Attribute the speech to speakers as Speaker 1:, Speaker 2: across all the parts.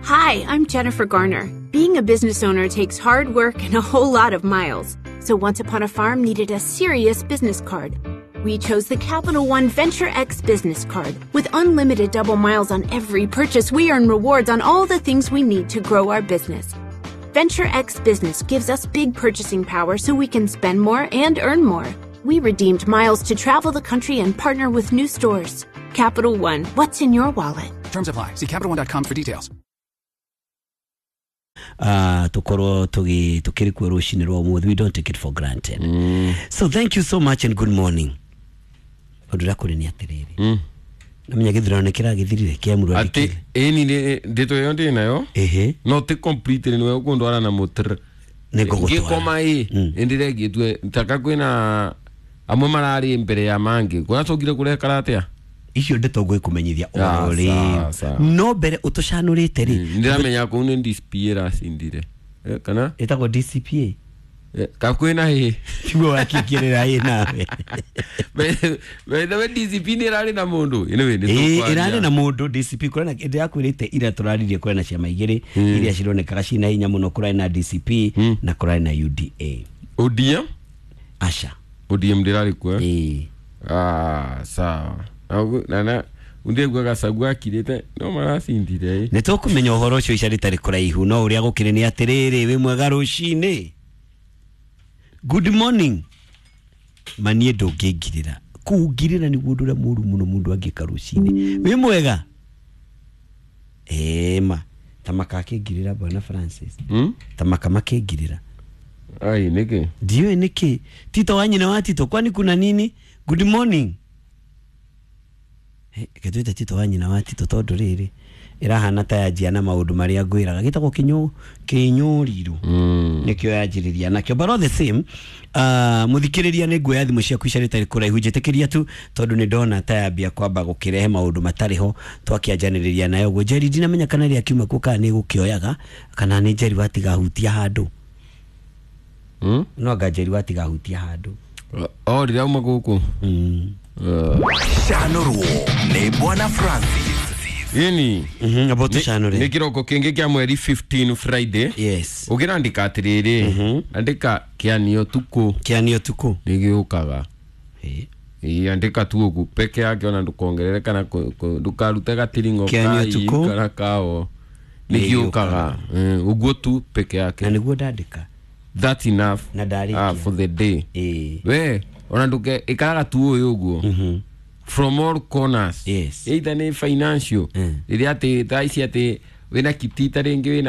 Speaker 1: Hi, I'm Jennifer Garner. Being a business owner takes hard work and a whole lot of miles. So Once Upon a Farm needed a serious business card. We chose the Capital One Venture X business card. With unlimited double miles on every purchase, we earn rewards on all the things we need to grow our business. Venture X Business gives us big purchasing power so we can spend more and earn more. We redeemed miles to travel the country and partner with new stores. Capital One, what's in your wallet?
Speaker 2: Terms apply. See CapitalOne.com for details.
Speaker 3: Tukorwo tukiri kuo rucini rwa umuthi. We don't take it for granted. So thank you so much and good morning. Undu uria kuri ni atiriri, namenya githurano ni kiragithirire kia murwa.
Speaker 4: Ati ĩni ndeto ĩyo ndĩ nayo.
Speaker 3: Ehe.
Speaker 4: No ti complete nĩwe ũkũndwara na mũtr.
Speaker 3: Nĩ ngũgũtwara.
Speaker 4: Ngĩkoma ĩ nĩndĩregĩtue taka kwĩna amwe mararĩ mbere ya mangĩ kũracokire kũrekara atĩa.
Speaker 3: Icio ndeto ngwĩkũmenyithia
Speaker 4: Ah,
Speaker 3: oro rĩ.
Speaker 4: Sawa, sawa.
Speaker 3: No mbere ũtũcanũrĩte rĩ.
Speaker 4: Ndĩramenya kũu nĩ DCP ĩracindire. Kana
Speaker 3: ĩtagwo DCPA.
Speaker 4: Ka kwĩna hĩ.
Speaker 3: Tiguo wakĩingĩrĩra ĩ nawe.
Speaker 4: By the way, DCP nĩ ĩrarĩ na mũndũ. Anyway, nĩ
Speaker 3: Ĩĩ,
Speaker 4: tũkwaria.
Speaker 3: ĩrarĩ na mũndũ DCP. Kũrĩ na ndĩrakwĩrĩte ira tũraririe, kũrĩ na ciama igĩrĩ iria cironekaga ciĩna hinya mũno, kũrarĩ na DCP na kũrarĩ na UDA.
Speaker 4: ODM.
Speaker 3: Aca.
Speaker 4: ODM ndĩrarĩ kuo, eh?
Speaker 3: Ĩĩ.
Speaker 4: Ah, sawa. Na ndĩgua Gachagua akirĩte no maracindire ĩ.
Speaker 3: Nĩ tũkũmenya ũhoro ũcio ica rĩtarĩ kũraihu, no ũrĩa gũkĩrĩ nĩ atĩrĩrĩ, wĩ mwega rũcinĩ, good morning. Maniĩ ndũngĩngirĩra kũngirĩra nĩguo ũndũ ũrĩa mũru mũno mũndũ angĩka rũcinĩ. Wĩ mwega ĩma tamaka akĩngirĩra bwana Francis. Tamaka makĩngirĩra.
Speaker 4: Ai, nĩkĩ?
Speaker 3: Ndiũĩ nĩkĩ. Tito wa nyina wa Tito, kwani kuna nini? Good morning. Gĩtwĩte Tito wa nyina wa Tito tondũ rĩrĩ ĩrahana ta yanjia na maũndũ marĩa ngwĩraga gĩtagwo kĩnyũrirũ. Nĩkĩo yanjĩrĩria nakĩo, but all the same, mũthikĩrĩria, nĩ nguoya thimũ ciaku ica rĩtarĩ kũraihu. Njĩtĩkĩria tu tondũ nĩ ndona ta yambia kwamba gũkĩrehe maũndũ matarĩ ho twakĩanjanĩrĩria nayo ũguo. Njeri, ndinamenya kana rĩrĩa kiuma kuo kana nĩ gũkĩoyaga kana nĩ Njeri watigahutia handũ. No anga Njeri watigahutia handũ.
Speaker 4: O rĩrĩa uma gũkũ.
Speaker 5: Canũrwo nĩ Bwana Francis.
Speaker 4: Ĩni.
Speaker 3: Amba ũtũcanũre.
Speaker 4: Nĩ kĩroko kĩngĩ kĩa mweri 15, Friday.
Speaker 3: Yes.
Speaker 4: Ũngĩrandĩka atĩrĩrĩ, andĩka kĩanio tukũ.
Speaker 3: Kĩanio tukũ.
Speaker 4: Nĩ gĩũkaga.
Speaker 3: Ĩ.
Speaker 4: Ĩ, andĩka tu ũguo peke yake, ona ndũkongerere kana ndũkarute gatiring'o.
Speaker 3: Kĩanio
Speaker 4: kai
Speaker 3: tukũ.
Speaker 4: Kana kao nĩ
Speaker 3: Nĩ
Speaker 4: gĩũkaga. Ũguo tu peke yake.
Speaker 3: Na nĩguo ndandĩka.
Speaker 4: That's enough.
Speaker 3: Na ndarĩkia.
Speaker 4: Ah, for the day.
Speaker 3: Ĩ.
Speaker 4: We ona ndũke ĩkaraga tu ũyũ ũguo from all corners.
Speaker 3: Yes.
Speaker 4: Either nĩ financial, rĩrĩa atĩ thaa ici atĩ wĩna kitita rĩngĩ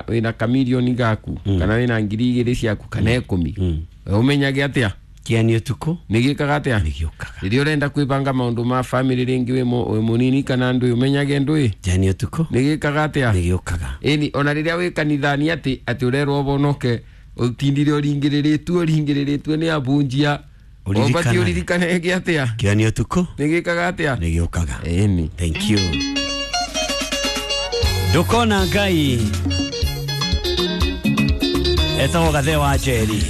Speaker 4: wĩna kamirioni gaku kana wĩna 2,000 ciaku kana 10, ũmenyage atĩa?
Speaker 3: Kĩanio tukũ.
Speaker 4: Nĩ gĩkaga atĩa?
Speaker 3: Nĩ gĩũkaga.
Speaker 4: Rĩrĩa ũrenda kwĩbanga maũndũ ma family rĩngĩ wĩ mũnini kana ndũĩ, ũmenyage ndũĩ.
Speaker 3: Kĩanio tukũ.
Speaker 4: Nĩ gĩkaga atĩa?
Speaker 3: Nĩ gĩũkaga.
Speaker 4: Ĩni, ona rĩrĩa wĩ kanithani atĩ ũrerwo ũhonoke, ũtindire ũringĩrĩrĩtue nĩ abunjia.
Speaker 3: Ũririkane.
Speaker 4: Ũbatiĩ ũririkane gĩ atĩa?
Speaker 3: Kĩanio tukũ.
Speaker 4: Nĩ gĩkaga atĩa?
Speaker 3: Nĩ gĩũkaga.
Speaker 4: Ĩni.
Speaker 3: Thank you. Ndũkona Ngai etagwo Gathe wa Njeri.